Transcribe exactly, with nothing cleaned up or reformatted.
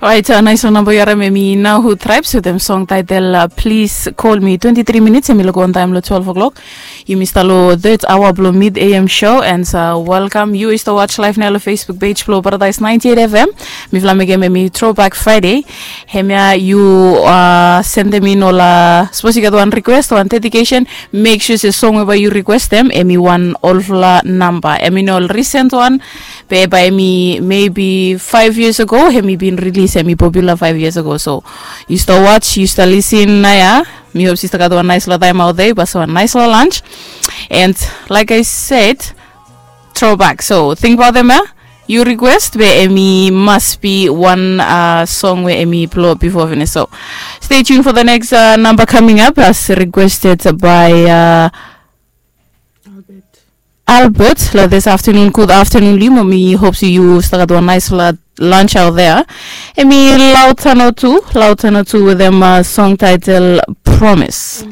Orait, nais long namba yu harim em i Nahu Tribes wetem song title Please Call Me. Twenti tri minits em i luk wantaem long twelve o'clock. Yumi stap long third hour blong mid A M show and welcome yu i stap watch live nao long Facebook page blong Paradise ninety eight F M. Mifala mekem em i Throwback Friday. Hemia yu sendem in ol, sapos yu gat wan request, wan dedication, make sure se song we bae yu requestem em i wan olfala namba, em i no ol recent wan. Be bae em i maybe five years ago em i bin release, em i popular five years ago. So yu stap watch, yu stap lisin nao ya. Mi hop se yu stap gat wan naispela taem aot ya, yu stap gat wan naispela lunch. And like I said, throwback. So think about them ya. Yu request be em i must be wan song we em i plo bifo finis. So stay tuned for the next number coming up as requested by Albert long this afternoon. Good afternoon long yu. Mi hop se yu stap gat wan naispela lunch aot ya. Em i Lautano tu, Lautano tu wetem song title Promise.